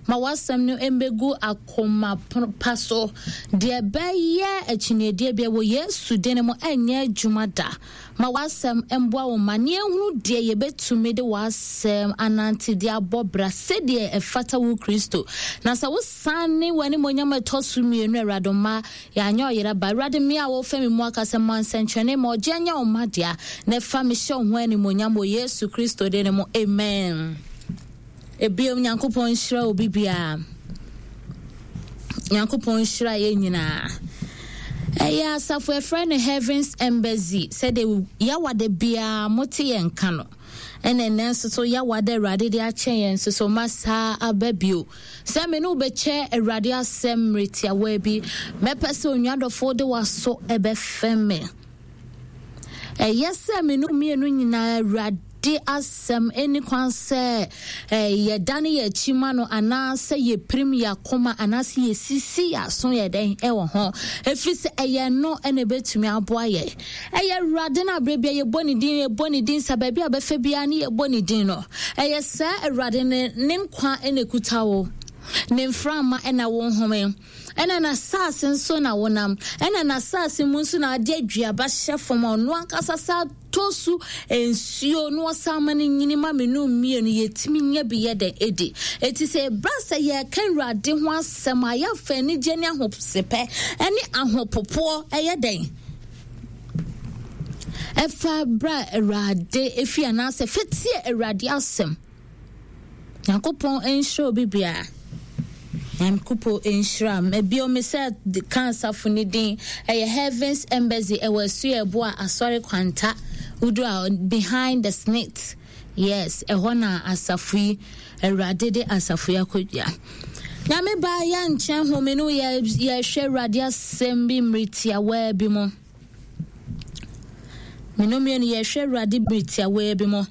Ma w'asɛm no mmɛgu akoma pa so. Deɛ ɛbɛyɛ akyinnyedie biara wɔ Yesu din mu ɛnyɛ adwuma da. Ma w'asɛm mmoa wo mma na yɛnhunu deɛ yɛbɛtumi de w'asɛm anante de abɔ bra sɛdeɛ ɛfata wo Kristo. Na sɛ wosane w'animuonyam a ɛtɔ so mmienu, Awurade mma yɛanyɛ ɔyera ba. Awurade, me a wofa me mu akasa, ma nsɛnkyerɛnne ma ɔgyeɛ nyɛ wo mma dea, na fa me hyɛ wo ho animuonyam wɔ Yesu Kristo din mu. Amen. Ebio, Nyankopɔn nhyira obi biara. Nyankopɔn nhyira yɛn nyinaa. Ɛyɛ asafo ɛfrɛ no Heavens Embassy sɛdeɛ yawada biara mote yɛn nka no. Ɛna ɛnɛ nso so yawada Awurade de akyɛ yɛn nso so ma saa aba bio. Sɛ me ne wobɛkyɛ Awurade asɛm mmerɛ tiawa bi, mɛpɛ sɛ onua dɔfo de w'aso ɛbɛfɛm me. Ɛyɛ sɛ me ne mmienu nyinaa Awurade asɛm ɛni kwan sɛ yɛdane yɛn akyi ma no anaasɛ yɛpirim yɛn akoma anaasɛ yɛsisi yɛn aso yɛ dɛn ɛwɔ ho, ɛfiri sɛ ɛyɛ no ɛna ɛbɛtumi aboa yɛ. Ɛyɛ Awurade no aberɛ bia yɛbɔ ne din, yɛbɔ ne din sa baabi a bɛfɛ biara ne yɛbɔ ne din no, ɛyɛ saa Awurade no ne nkwa ɛna ɛkuta wo, ne mframa ɛna wo nhome. Ɛna n'asaase nso na wonam, ɛna n'asaase mu nso na ade aduaba hyɛ fam a ɔno ankasa sa tɔ so nsuo na ɔsan ma no nyini ma me no mmienu yɛtumi nya bi yɛ dɛn ɛdi. Eti sɛ ɛba sɛ yɛreka Awurade ho asɛm a, yɛafa anigye ne ahosepɛ ɛne ahopopoɔ ɛyɛ dɛn ɛfa bra Awurade efi anaasɛ fɛtie Awurade asɛm. Nyankopɔn nhyira obi biara. Nyankopɔn nhyira m. Ebio me sɛ ka asafo ne din. Ɛyɛ Heavens Embassy ɛwɔ Asuaɛboa Asɔre Kwanta. Wodu a behind the snit. Yes, ɛhɔ na asafo yi Awurade de asafo yi akɔdua. Nyame ba yɛ nkyɛn home no yɛ yɛhwɛ Awurade asɛm bi mmere tiawaa bi mu. Mene mmienu yɛhwɛ Awurade bere tiawaa bi mu.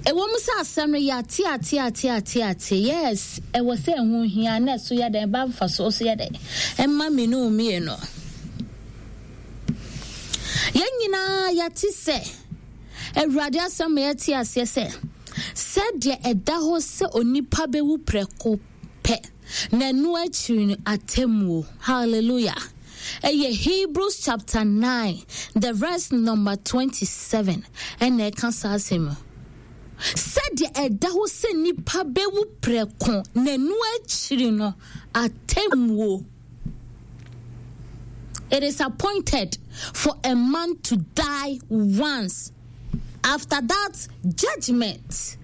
Ɛwɔ mu sɛ asɛm no yɛate ate ate ate ate yes ɛwɔ sɛ ɛho hia na ɛso yɛ dɛn ɛba mfasoɔ so yɛ dɛn ɛma mmienu mmienu. Yɛn nyinaa yɛate sɛ Awurade asɛm ma yɛte aseɛ sɛ sɛdeɛ ɛda hɔ sɛ onipa bɛwu prɛko pɛ na ɛno akyiri no atemmuo. Hallelujah. Ɛyɛ Hebrews chapter 9 the verse number 27 ɛna ɛka saa asɛm mu. Sɛdeɛ ɛda hɔ sɛ nipa bɛwu prɛko na ɛno akyiri no atemmuo. It is appointed for a man to die once. After that, judgment.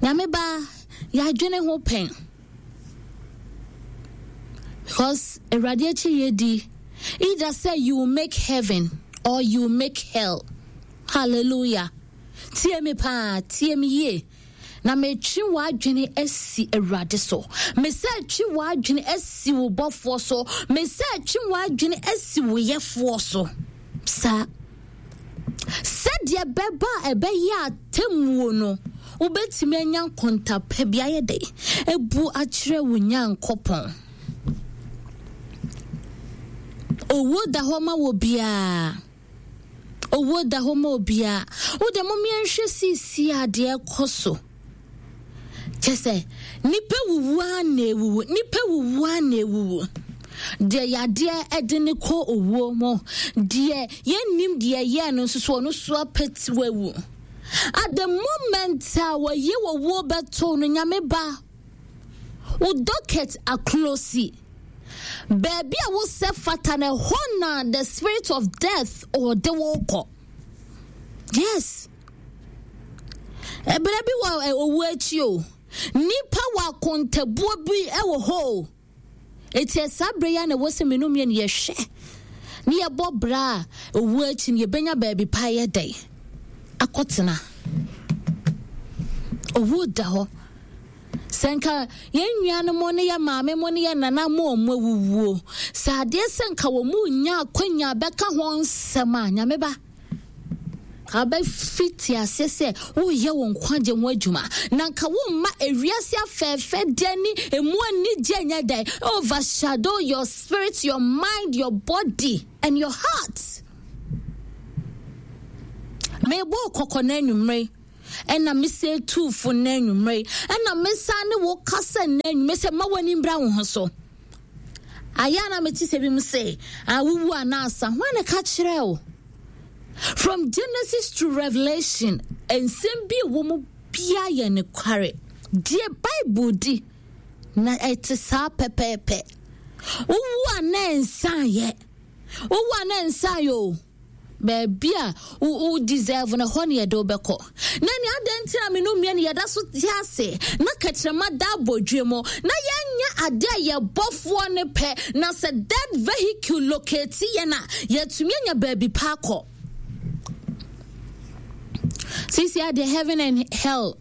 Nyame ba, yɛadwene ho pɛn. Because Awurade akyi yɛ di. Either say you will make heaven or you will make hell. Hallelujah. Tie me paa, tie me yie. Na metwe w'adwene asi Awurade so. Mesɛ twe w'adwene asi wo bɔfoɔ so. Mesɛ twe w'adwene asi wo yɛfoɔ so. Saa. Sɛdeɛ bɛba a ɛbɛyɛ atemmuo no, wobɛtumi anya nkontapa bi ayɛ dɛ abu akyerɛ wo Nyankopɔn. Owuo da hɔ ma wɔ biara. Owuo da hɔ ma obiara. Wo deɛ mom yɛnhwɛ seesie a deɛ ɛkɔ so. Kyɛ sɛ nipa wuwu a na ewuwu, nipa wuwu a na ewuwu. Deɛ yadeɛ ɛde ne kɔ owuo mu, deɛ yɛnnim deɛ ɛyɛɛ no nso so ɔno so apɛti wawu. At the moment a wɔyi owuo bɛto no, nyame ba, wo docket aklosi. Baabi a wosɛ fata no, ɛhɔ na the spirit of death ɔde wo kɔ. Yes. Ɛberɛ bi wɔ owu akyi o. Nipa wɔ akontabuo bi wɔ hɔ o. Eti saa berɛ yi a na ɛwɔ sɛ mmienu mmienu yɛhwɛ ne yɛbɔ bra a owu akyi no yɛbɛnya baabi pa yɛ dɛn akɔtena. Owu da hɔ. Sɛ nka yɛn nuanom ne yɛn maame mo ne yɛn nana mo ɔmo awuwuo, sɛ adeɛ sɛ nka wɔn mu nya akwanya bɛka ho nsɛm a, nyame ba, ka bɛfiti aseɛ sɛ woyɛ wo nkwagye ho adwuma, na nka womma ewiase afɛɛfɛ deɛ ne emu anigye nyɛ dɛn overshadow your spirit, your mind, your body and your heart. Mebɔ kɔkɔ no anwummere. Ɛna mese tu fo nnɛ anwummerɛ yi. Ɛna mesan ne wo kasa nnɛ anwummerɛ sɛ ma w'ani mbra wo ho so. Ayɛ a na mete sɛ bi mu se, awuwu anaasa. Hwan na ka kyerɛ wo? From Genesis to Revelation, nsɛm bi wɔ mu bia yɛ nokware. Deɛ Bible di na ɛte saa pɛpɛɛpɛ. Wowu a na ɛnsan yɛ. Wowu a na ɛnsan yɛ o. Baabi a wo deserve no, ɛhɔ ne yɛde wo bɛkɔ. Na nea adɛn nti na me no mmienu yɛda so te ase na kɛkyerɛma da abɔdwe mu na yɛnyɛ ade a yɛbɔfoɔ no pɛ, na sɛ dead vehicle locate yɛn a, yɛatumi anya baabi pa akɔ. Sisi adeɛ heaven and hell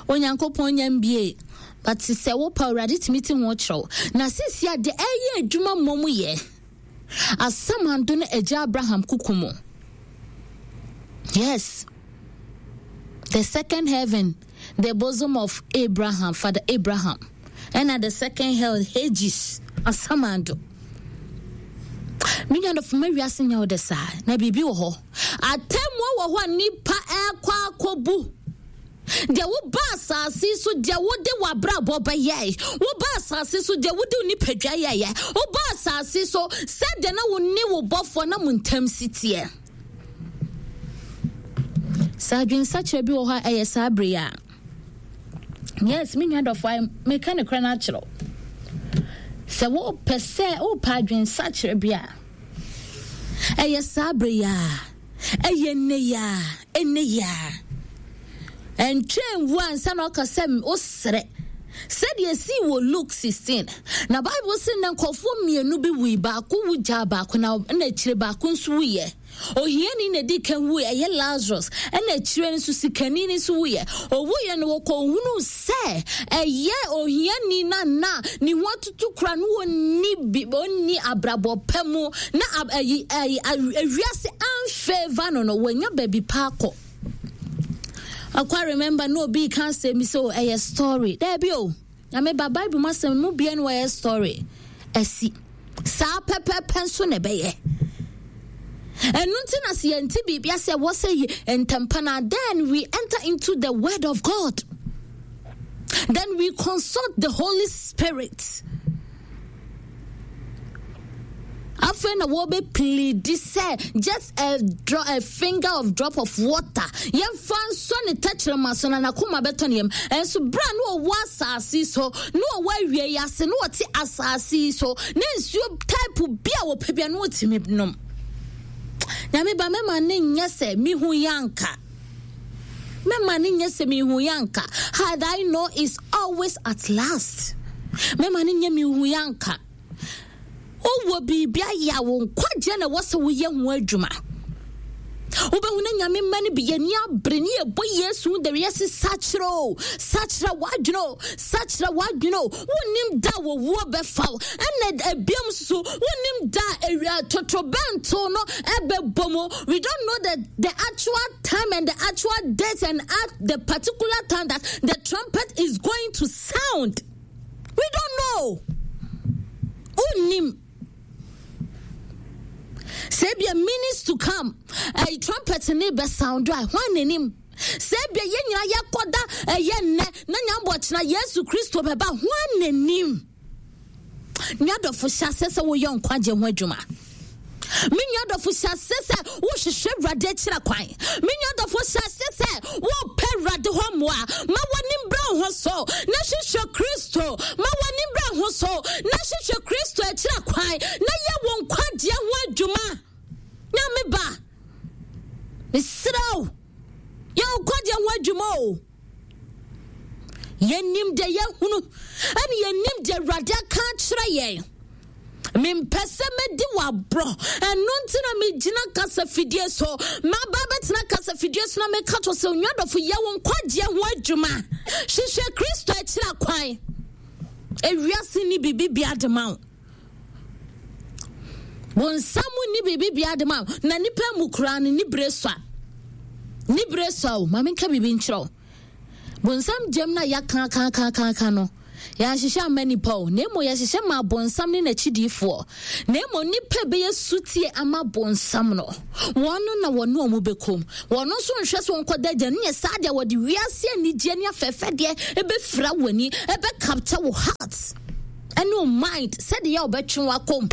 Onyankopɔn nya mbie, but sɛ wopɛ Awurade tumi te ho kyerɛw. Na sisi adeɛ ɛyɛ adwuma mmom yɛ. Asamando no agya Abraham kuku mu. Yes. The second heaven, the bosom of Abraham, Father Abraham. And at the second hell, Hades, Asamando. Me nua dɔfo ma wiase nyɛ wo de saa na biribi wɔ hɔ atemmuo wɔ hɔ a nipa ɛkɔ akɔbu Deɛ woba asase so, deɛ wode w'abrabɔ bɛyɛe, woba asase so, deɛ wode wo nipadua yɛeɛ, woba asase so, sɛdeɛ na wo ne wo bɔfoɔ na mo ntam si teɛ. Sɛ adwensakyerɛ bi wɔ hɔ a ɛyɛ saa bere yi a. Yes, me nua dɔfo, meka ne korɛ no akyerɛ wo. Sɛ wopɛ sɛ wopɛ adwensakyerɛ bi a, ɛyɛ saa bere yi a. Ɛyɛ nnɛ yi ara, ɛnnɛ yi ara. Ɛntwɛn nwu ansa na ɔka sɛ wosrɛ. Sɛdeɛ ɛsii wɔ Luke 16. Na Bible se na nkurɔfoɔ mmienu bi wui, baako wu gyaa baako na ɛna akyire baako nso wuiɛ. Ohiani na ɛdi kan wuiɛ, ɛyɛ Lazarus, ɛna akyire nso sikani no nso wuiɛ. Owuiɛ no wɔkɔhunuu sɛ ɛyɛ ohiani no na ne ho atutu kora no ɔnni bi ɔnni abrabɔ pa mu na ayi ayi ewiase amfeva no no wɔanya baabi pa akɔ. Akwa remember na obi ka asɛm bi sɛ ɛyɛ story. Daabi o. Nyame ba Bible mu asɛm mu bia no wɔyɛ story. Asi. Saa pɛpɛpɛ nso na ɛbɛyɛ. Ɛno nti na sɛ yɛnte biribi ase ɛwɔ sɛ ntɛmpa na then we enter into the word of God. Then we consult the Holy Spirit. Afei na wɔbɛ pleadi sɛ just a, dro a finger of drop of water yɛmfa nsɔ ne tɛkyerɛma so na n'akoma bɛtɔ ne yam. Ɛnso berɛ a na ɔwɔ asase so na ɔwɔ awie yi ase na ɔte asase yi so na nsuo type bi a wɔpɛ bia na ɔtumi nom. Nyame ba mɛma ne nyɛ sɛ mehu yɛ anka. Mɛma ne nyɛ sɛ mehu yɛ anka. Had I know is always at last. Mɛma ne nyɛ mehu yɛ anka. Wowɔ biribi ayɛ a wo nkwagyeɛ na ɛwɔ sɛ woyɛ ho adwuma. Wobɛhu na Nyame mma no bi yɛni abere ne yɛbɔ Yesu ho dawuro yɛse sakyera o, sakyera w'adwene o, sakyera w'adwene o. Wonnim da a wɔwuo bɛfa wo. Ɛna ebiom nso wonnim da a awia totorobɛnto no ɛbɛbɔ mu. We don't know the actual time and the actual date and at the particular time that the trumpet is going to sound. We don't know. Wonnim. Sɛ ebia minutes to come, ɛyi trumpet ne bɛ sound a, hwan n'anim? Sɛ ebia yɛn nyinaa yɛkɔda ɛyɛ nnɛ na nyambɔ kyena Yesu Kristo bɛba, hwan n'anim? Nua dɔfo hyɛ aseɛ sɛ woyɛ nkwagye ho adwuma. Me nua dɔfo hyɛ aseɛ sɛ wohwehwɛ Awurade akyira kwan. Me nua dɔfo hyɛ aseɛ sɛ wopɛ Awurade hɔ mmoa. Ma w'ani mbra wo ho so na hwehwɛ Kristo. Ma w'ani mbra ho so na hwehwɛ Kristo akyira kwan na yɛ wo nkwagyeɛ ho adwuma. Nyame ba, mesrɛ wo, yɛ wo nkwagyeɛ ho adwuma o. Yɛnim deɛ yɛahunu ɛne yɛnim deɛ Awurade aka akyerɛ yɛn. Mempɛ sɛ mɛdi w'aborɔ, ɛno nti na megyina kasafidie so. Maba bɛtena kasafidie so na meka to sɛ onua dɔfo yɛ wo nkwagyeɛ ho adwuma. Hwehwɛ Kristo akyira kwan. Ewiase ni biribi bia de ma wo. Bonsam nni biribi bia de ma wo. Na nipa mu koraa no ne bere sua. Ne bere sua o, ma menka biribi nkyerɛ wo. Bonsam gyam no a yɛaka aka aka aka aka no. Yɛanhyehyɛ amma nnipa o, na mmom yɛhyehyɛ maa bonsam ne n'akyidifoɔ. Na mmom nnipa bɛyɛ sutie ama bonsam no, wɔn no na wɔne wɔn bɛkɔm. Wɔn nso nhwɛ so nkɔda agya no nyɛ saa deɛ wɔde wiase anigyeɛ ne afɛɛfɛdeɛ ɛbɛfira w'ani, ɛbɛcapture wo heart ɛne wo mind sɛdeɛ wɔbɛtwe wakɔm.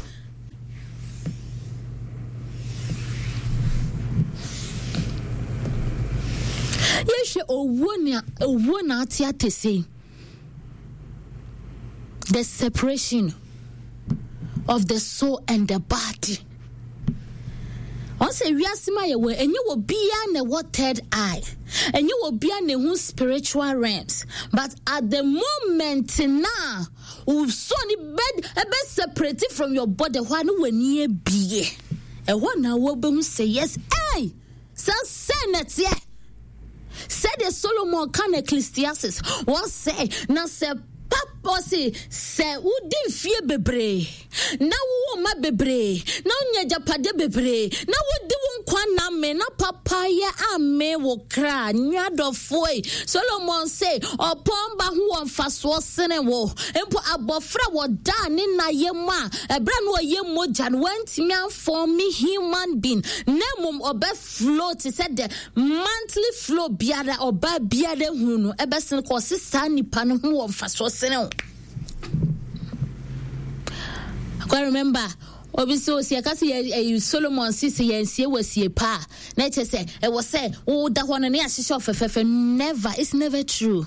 Yɛhwɛ owuo nea owuo na ate atese. The separation of the soul and the body. Wɔn sɛ wiase ma yɛwɔ ɛnyɛ wɔ biara na ɛwɔ third eye ɛnyɛ wɔ biara na ɛhu spiritual realms but at the moment na wo soul ni bɛ ɛbɛ separate from your body hɔ a ne w'ani abie ɛhɔ na wɔbɛhu sɛ yes ɛy sɛ sɛ na ɛteɛ sɛdeɛ Solomon ka no Ecclesiastes wɔsɛ na sɛ papa ɔse sɛ wodi mfie bebree na wowɔ mma bebree na wonya agyapadeɛ bebree na wodi wo nkwa nna me na papayɛ ame wo kra nnuadɔfoɔ Solomon se ɔpɔn ba ho wɔ mfasoɔ sene wo mpo abɔfra wɔdaa ne na yɛ mu a ɛberɛ no ɔyɛ mogya no wantumi amfɔn human being na mmom ɔbɛ flow te sɛ the monthly flow biara ɔbaa biara hunu no ɛbɛsen kɔ ɔse saa nipa no ho wɔ mfasoɔ sene wo. I remember obi sɛ osi ɛka sɛ yɛ ɛyi Solomon si sɛ yɛnsie wɔ sie pa a na ɛkyɛ sɛ ɛwɔ sɛ woda hɔ no ne ahyehyɛ ɔfɛfɛɛfɛ never it's never true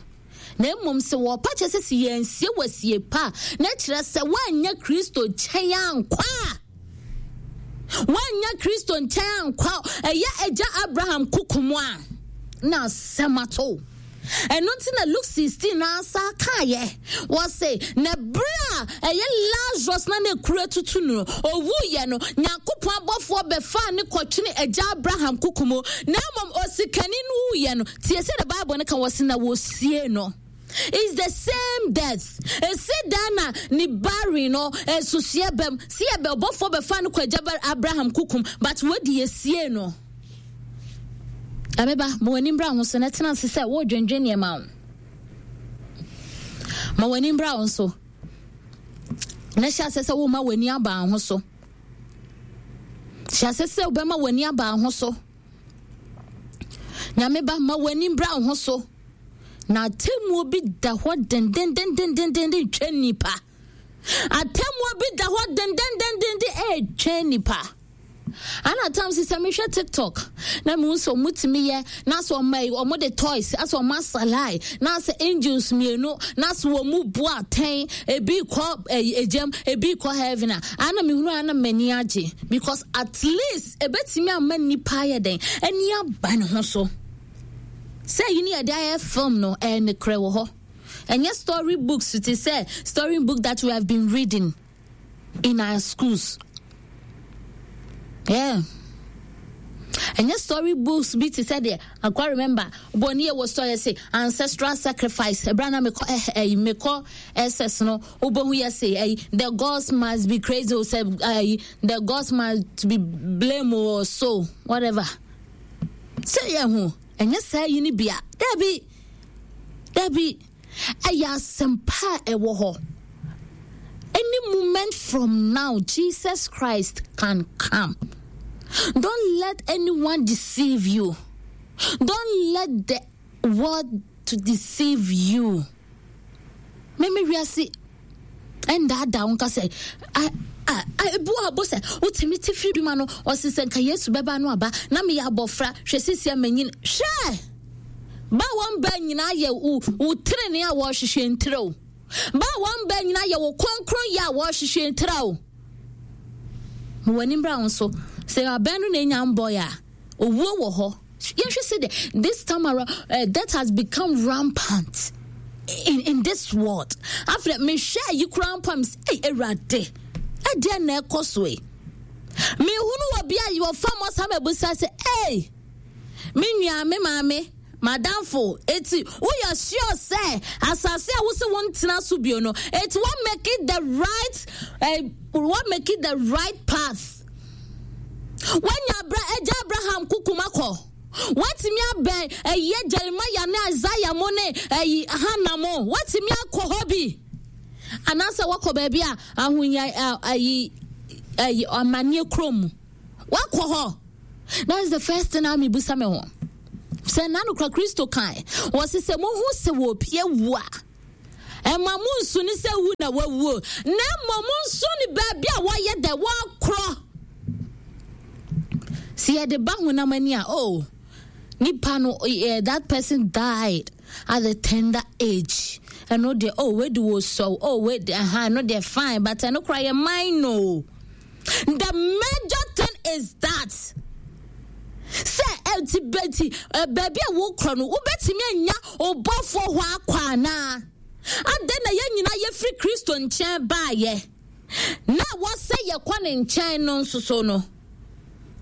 na mmom sɛ wɔpa kyɛ sɛ sɛ yɛnsie wɔ sie pa a na ɛkyerɛ sɛ woanyɛ Kristo nkyɛn ankɔ a Woannya Kristo nkyɛn ankɔ ɛyɛ agya Abraham koko mu a, na asɛm ato. Ɛno nti na Luke 16 na asa kaeɛ. Wɔse, na berɛ a ɛyɛ Lazarus na ne kura tutu no, owuiɛ no, Nyankopɔn abɔfoɔ bɛfaa ne kɔtwene agya Abraham koko mu. Na mmom osikani no wuiɛ no, tie sɛ the Bible no ka wɔse na wɔsie no. It's the same death. Esi dan na ne barren no nsusuɛ bɛm. Si yɛ bɛ ɔbɔfoɔ bɛfa no kɔ agya Abraham kukum, but wadi esie no. Abeba, ma w'ani mbra ho so na tena ase sɛ wodwendwen nneɛma ho. Ma w'ani mbra ho so na hyɛ ase sɛ woma w'ani aba ho so. Hyɛ ase sɛ wobɛma w'ani aba ho so. Nyame ba, ma w'ani mbra wo ho so. Na atemmuo bi da hɔ dendendendendenden retwɛn nipa. Atemmuo bi da hɔ dendendendenden retwɛn nipa. Ana tam sɛ sɛ mehwɛ TikTok na mehu sɛ ɔmo tumi yɛ na sɛ ɔmo ayi ɔmo de toys asɛ ɔmo asalae na sɛ angels mmienu na sɛ wɔn bu atɛn ebi kɔ ɛyi egyam ebi kɔ heaven a ana mehunu ana m'ani agye because at least Ebetumi ama nnipa ayɛ dɛn ani aba ne ho so? Sɛ eyi ne yɛde ayɛ film no, ɛyɛ nokorɛ wɔ hɔ. Ɛnyɛ story books te sɛ story book that we have been reading in our schools. Yeah. Ɛnyɛ story books bi te sɛ deɛ akwa remember bɔnni yɛ wɔ story sɛ ancestral sacrifice ɛbɛrɛ na mekɔ ɛɛ eh, mekɔ ss no wobɛhu yɛ se ɛyi the gods must be crazy o sɛ ɛyi the gods must be blame or so whatever sɛ yɛ ho ɛnyɛ saa yi no bia dabi dabi ɛyɛ asɛmpa a ɛwɔ hɔ any moment from now jesus christ can come don't let anyone deceive you don't let the world to deceive you Mɛma wiase ndaadaa wo nka sɛ ebu a bo sɛ wotumi te firi dwuma no ɔsi sɛ nka Yesu bɛba no aba na meyɛ abɔfra hwɛ sisi a manyin hwɛ ba wɔn ba nyinaa yɛ wo wo tenenee a wɔrehwehwɛ ntira o ba wɔn ba nyinaa yɛ wo kronkron yɛ a wɔrehwehwɛ ntira o ma w'ani mbra wo so sɛ abɛn no na enya mbɔe a owuo wɔ hɔ Yɛnhwɛ sɛ deɛ this time around uh, death has become rampant in, in this world. Afei mehwɛ ayi koraa mpo a mesɛ ei awurade ɛdeɛ na ɛkɔ so yi. Mehunu wɔ bi a wɔfa mɔ saa mabusa sɛ ei me nua me maame madamfo eti woyɛ sure sɛ asase a wosɛ wontena so bio no eti wɔn make it the right uh, wɔn make it the right path. Woanya abra agya Abraham kokom akɔ. Woatumi abɛn ɛyɛ Jeremiah ne Isaiah mo ne ɛyi Hannah mo. Woatumi akɔ hɔ bi. Anaasɛ wakɔ baabi a ahonya ayi ayi amanneɛ kurom mu. Wakɔ hɔ. That is the first thing a mebusa me ho. Sɛ na nokora Kristo kae, wɔse sɛ mohu sɛ wɔpie wu a, ɛma mo nsu ne sɛ wu na wawuo, na mmom mo nsu ne baabi a wɔyɛ dɛ wɔkorɔ. Sɛ yɛde ba honam ani a, oh, nipa no, eh, that person died at the tender age. Ɛno deɛ, oh, wei de wɔ sɔw, oh, wei de, aha, ɛno deɛ fine, but ɛno koraa yɛ minor. The major thing is that sɛ ɛti bɛti baabi a wokɔ no wobɛtumi anya ɔbɔfoɔ hɔ akɔ anaa adɛn na yɛn nyinaa yɛfiri Kristo nkyɛn baayɛ na wɔsɛ yɛkɔ ne nkyɛn no nso so no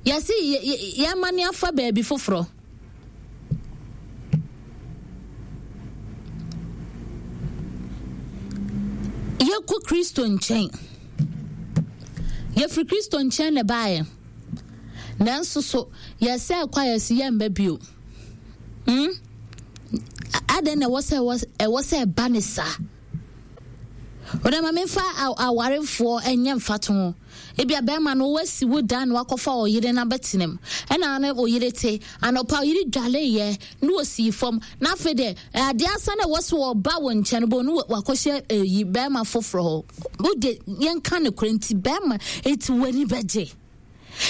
yɛse yɛma ne afa baabi foforɔ. Yɛkɔ Kristo nkyɛn. Yɛfiri Kristo nkyɛn na ɛbaeɛ. Nanso so yɛsɛ kɔ a yɛsi yɛmba bio. Hmm? Adɛn na ɛwɔ sɛ ɛwɔ sɛ ɛba ne saa? Wode ma memfa awarefoɔ nyɛ mfatoho. Ebia bɛrima no wasi wo dan na wakɔfa ɔyere no abɛtena mu. Ɛna ne ɔyere te. Anɔpa ɔyere dwaleeɛ na ɔsii fam. Na afei deɛ adeɛ asa na ɛwɔ so ɔba wo nkyɛn bo no wakɔhyɛ ɛyi bɛrima foforɔ hɔ. Wode yɛnka no korɛ nti bɛrima nti w'ani bɛgye.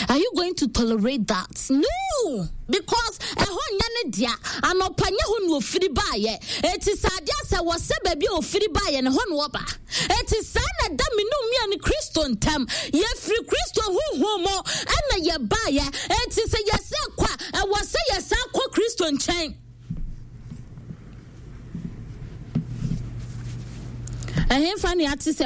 Are you going to tolerate that? No! Because ɛhɔ nyɛ ne dea. Anɔpa nyɛ hɔ na ofiri baayɛ. Eti sɛ adeɛ sɛ wɔ sɛ baabi a ofiri baayɛ no hɔ na ɔba. Eti saa na ɛda me ne mmea ne Kristo ntam. Yɛfiri Kristo huhu mu ɛna yɛbaayɛ. Eti sɛ yɛsɛ kɔ a, ɛwɔ sɛ yɛsan kɔ Kristo nkyɛn. Ɛhefa ne ate sɛ